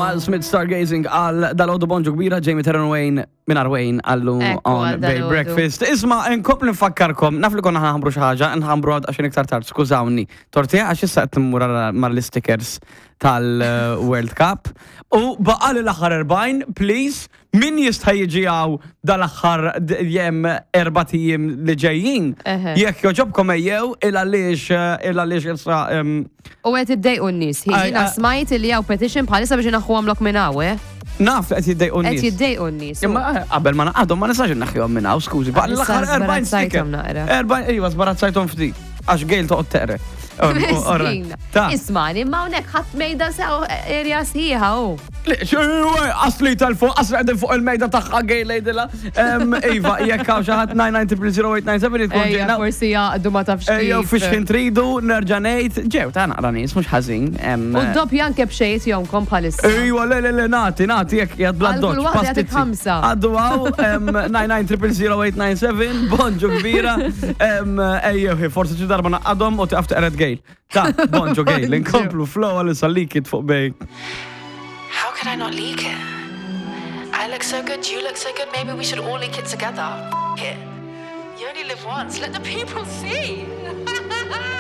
Miles Smith Stargazing għal dal-għodu bonġu kbira Jamie Terran Wayne minn Wayne għallu Ekku, on għal Bay dal-għodu. Breakfast. Isma, nkompli nfakkarkom, naf li konna ħanħambru xi ħaġa, nħambru għad għaxin iktar tard, skużawni. Tortija għax issa qed immur mal-stickers tal-World Cup. U baqali l-aħħar 40, please, min jista' jiġi hawn dal-aħħar jem erbat ijiem li ġejjin. Jekk joġobkom ejjew il għaliex il għaliex issa U qed iddejqu n-nies. Jiena smajt li hawn petition bħalissa biex inaħħu għamlok minn hawn, eh? Naf li qed jiddejqu n-nies. Qed jiddejqu n-nies. Imma qabel ma naqadhom ma nistax inneħħihom minn hawn, skużi. Baqli l-aħħar 40 sticker. 40 iva żbarazzajthom ftit. Għax Gail toqgħod teqre. Miskina. Ismani, ma hawnhekk ħadd mejda sew erja sħiħa hu. Asli tal-fuq, asli qegħdin fuq il-mejda tagħha Gail lejdilha. Iva, jekk hawn xi ħadd 9900897 tkun ġejna. Forsi jaqdu ma tafx. Ejja, fiex ħin tridu, nerġa' ngħid, ġew ta' naqra nies mhux ħażin. U doppja anke b'xejn jomkom bħalissa. Ejwa, le le le nagħti, nagħti jekk jgħad bla doċ. Pastizzi. ħamsa. Għaddu għaw, 9900897, bonġu kbira. Ejjew, forsi xi darba naqadhom u tiqaf teqred Gail. Ta, bonġu Gail, inkomplu flow għal leak it fuq bej. How could I not leak it? I look so good, you look so good, maybe we should all leak it together. F it. You only live once, let the people see.